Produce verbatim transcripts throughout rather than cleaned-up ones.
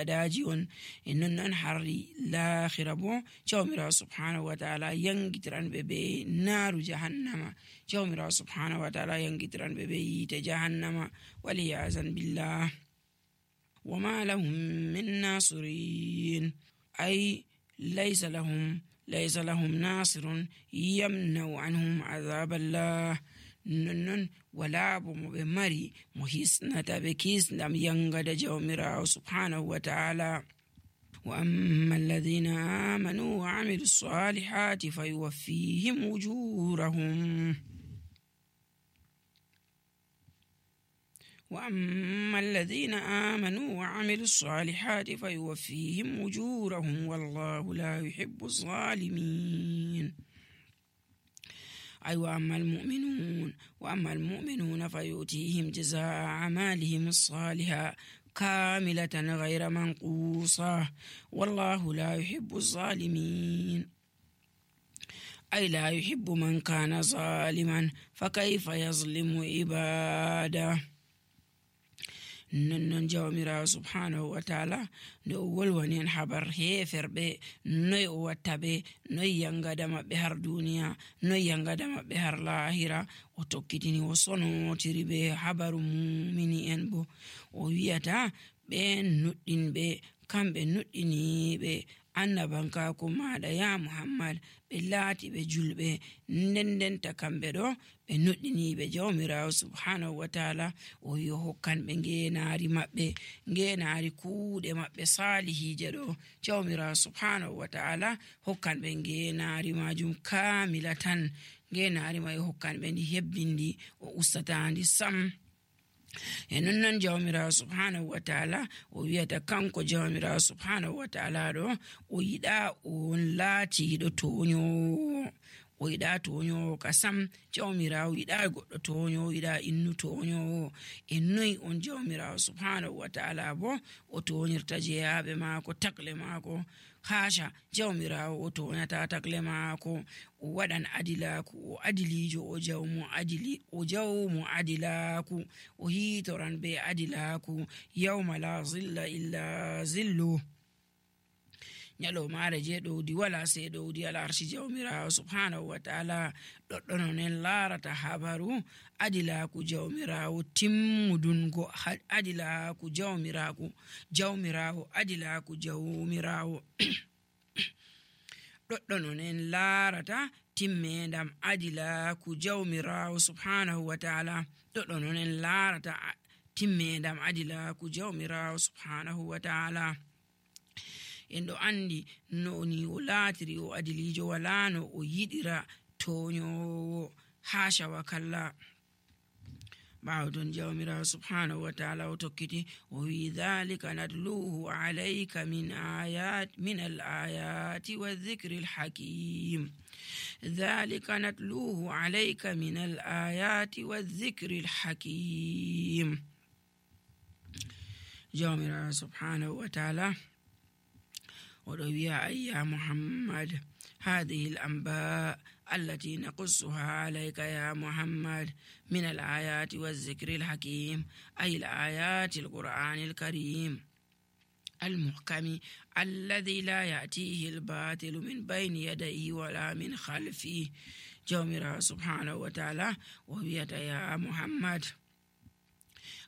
gadaji on en non non harri laakhira bo jawmirawo subhanahu wa ta'ala yangitiran be be naru jahannama jawmirawo subhanahu wa ta'ala yangitiran be be yite jahannama waliyazan billah wama lahum min nasirin ay laysa lahum laysa lahum nasirun yamna'u anhum azaballah non wala bo mo be mari mo hisnata be kisnam yangada jawmirawo subhanahu wa ta'ala wa amma alladhina amanu wa amilus salihati fayuwaffihim ujurahum وأما الذين آمنوا وعملوا الصالحات فيوفيهم أجورهم والله لا يحب الظالمين أي وأما المؤمنون وأما المؤمنون فيؤتيهم جزاء أعمالهم الصالحة كاملة غير منقوصة والله لا يحب الظالمين أي لا يحب من كان ظالما فكيف يظلم عباده non jawmirawo subhanahu wa ta'ala no wolwani en habar heferbe noy o watta be noy yangada mabbe har duniya noy yangada mabbe har lahira o tokkitini o sonotiri be habaru mu'mini en bo o wiyata be nuddin be kambe nuddini be annabanka ko maada ya muhammad be laati be julbe ndendenta kambe do be nuddini be jawmirawo subhanahu wa ta'ala o yo hokkan be ngenaari mabbe ngenaari kuude mabbe salihije do jawmirawo subhanahu wa ta'ala hokkan be ngenaari majum kamilatan ngenaari may hokkan be ndi hebbindi o ustataandi sam en non jawmirawo subhanahu wa ta'ala o wiyata kanko jawmirawo subhanahu wa ta'ala do o yida on laati do tonyo o yida tonyo kasam jawmirawo yida goddo tonyo yida innu tonyo ennoy on jawmirawo subhanahu wa ta'ala bo o tonirta jeyabe mako takle mako hasha jawmirawo o tonata takle mako o wadan adilaku o adilijo o jawmu adili o jawmu adilaku o hitoran be adilaku yawma la zilla illa zillu nyalo mare je dowdi wala se dowdi ala arshi jawmirawo subhanahu wa ta'ala doddono nen larata habaru adilaku jawmirawo timmudungo adilaku jawmiraku jawmirawo adilaku jawmirawo doddono nen larata timmendam adilaku jawmirawo subhanahu wa ta'ala doddono nen larata timmendam adilaku jawmirawo subhanahu wa ta'ala en do andi no ni o laatiri o adilijo wala no o yidira tonyo hasha wa kalla ba'dun jawmirawo subhanahu wa ta'ala o tokkiti o wi dhalika nadluhu alayka min ayat min al-ayati wadh-dhikri al-hakim dhalika nadluhu alayka min al-ayati wadh-dhikri al-hakim jawmirawo subhanahu wa ta'ala وروي يا محمد هذه الأنباء التي نقصها عليك يا محمد من الآيات والذكر الحكيم أي الآيات القرآن الكريم المحكم الذي لا يأتيه الباطل من بين يديه ولا من خلفه جومرا سبحانه وتعالى وبيت يا محمد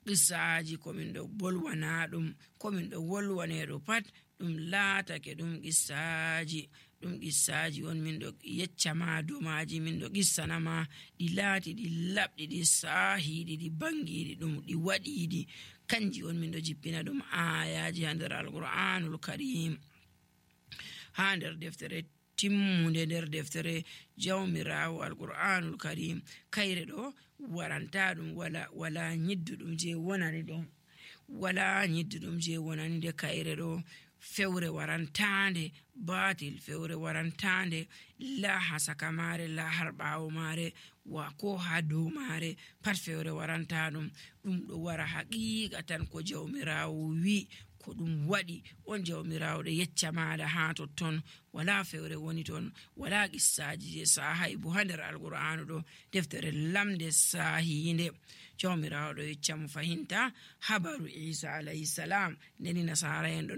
qissaaji komin do bolwana dum komin do wolwane do pat dum laatake dum qissaaji dum qissaaji on min do yeccama do maaji min do qissanama di laati di labdi di sahidi di bangidi dum di wadidi kanji on min do jippina dum ayaji hander al-Qur'anul Karim hander deftere timmunde der deftere jawmirawo al-Qur'anul Karim kayre do waranta dum wala wala nyiddudum je wonani dum wala nyiddudum je wonani de kayre do fewre warantande batil fewre warantande la hasaka mare la harbawo mare wa ko hado mare pat fewre warantadum dum do wara haqiqatan ko jawmirawo wi ko ɗum waɗi on jawmirawo ɗo yecca maɗa ha totton. Wala fewre woni ton, wala qissaji je sahay bo ha nder alqur'anu ɗo, deftere lamde sahinde. jawmirawo ɗo yecca mo fahinta habaru Isa alayhi salam. Ndeni nasara en ɗon